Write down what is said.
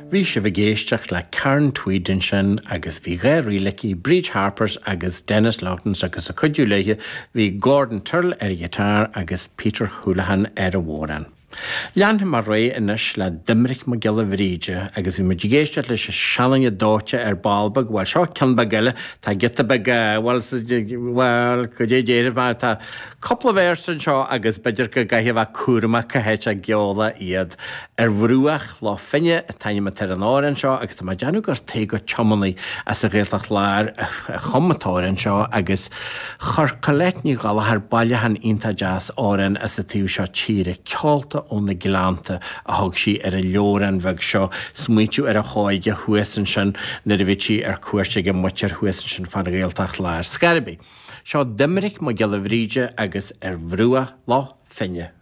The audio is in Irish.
Bhí sibh ag éisteacht le Karen Tweed ansin agus bhí 2 ríl aici, Bríd Harpers agus Denis Loughnan agus ag cuidiú léi bhí Gordon Tyrrell ar an ghiotár agus Peter Houlihan ar an bhodhrán. Leanfaidh mé ar aghaidh anois le Doiminic Mac Giolla Bhríde agus bhí muid ag éisteacht leis an seanduine dóite ar ball beag, bhuel seo ceann beag eile, tá giota beag, bhuel, bhuel, goidé déarfaidh mé, tá cúpla véarsa anseo agus b'fhéidir go gcaithfidh a bheith cúramach cá háit a gceolfá iad. Ar Bhruach Loch Finne an t-ainm atá ar an amhrán seo agus tá mé ag déanamh gur Tadhg Ó Tiománaí as an Ghaeltacht Láir a chum an t-amhrán seo agus Chuir Colette Ní Ghallchóir bailiúchán iontach deas amhrán as an taobh seo tíre, Ceolta ó na Gleannta a thug sí ar an leabhrán bheag seo, smaointiú ar a hóige thuas ansin nuair a bhí sí ar cuairt ag a muintir thuas ansin fán Ghaeltacht Láir. Ar scor ar bith, seo Doiminic Mac Giolla Bhríde agus Ar Bhruach Loch Finne.